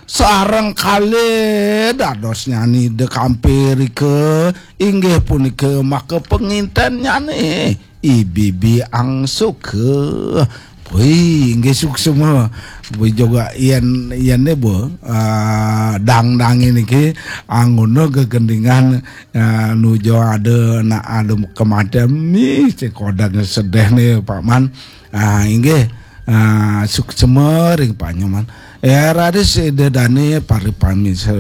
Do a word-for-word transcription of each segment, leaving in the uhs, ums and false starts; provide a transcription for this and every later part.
Sareng kalih dadosnyani Ida Kampirika, inggih punika maka pengintennyané I Bibi Angsuka. Wih, inggih suksma. Wih, juga yen, yen ne, Bu, ah, dangdangé niki anggona gegendingan, ah, nuju ada nak ada kematian, mih, cek kodang sedih nih, Pak Man. Ah, inggih, ah, suksma ring panyoman. Ya, raris Ida Dané para pamisa,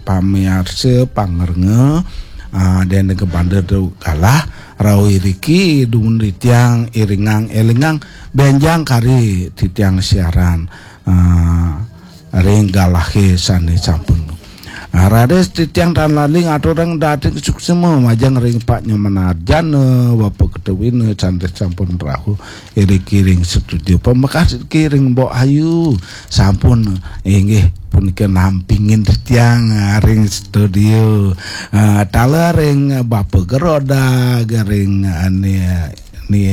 pamiarsa, pangrenga, ah, dene kebanda tu galah, rauh iriki dumun titiang iringang élingang bénjang kari titiang siaran, ah, ring galahé sané sampun. Ah, raris titiang tan lali ngaturang dating suksma majeng ring Pak Nyoman Arjana, Bapa Ketawina, sané sampun rauh iriki ring studio. Pamekas iriki ring Mbok Ayu. Sampun, inggih punika nampingin titiang, ah, ring studio. Ah, taler ring Bapa Geroda, ring, ah, ni, ni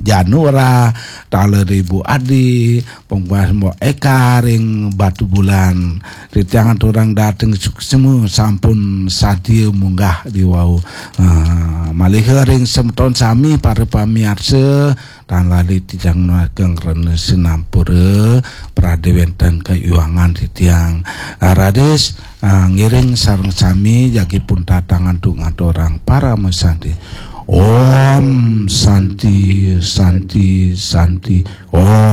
Janura, taler Ibu Adi, pungpas Mbok Eka ring Batubulan. Titiang aturang dating suksma sampun sadia munggah diwau. Ah, malih ring semeton sami para pamiarsa, tan lali titiang nunas geng rena sinampura, pradé wénten kaiwangan titiang. Ah, raris, ah, ngiring sareng sami jagi pun tatangan tu ngaturang parama santi. Om Santi, Santi, Santi. Om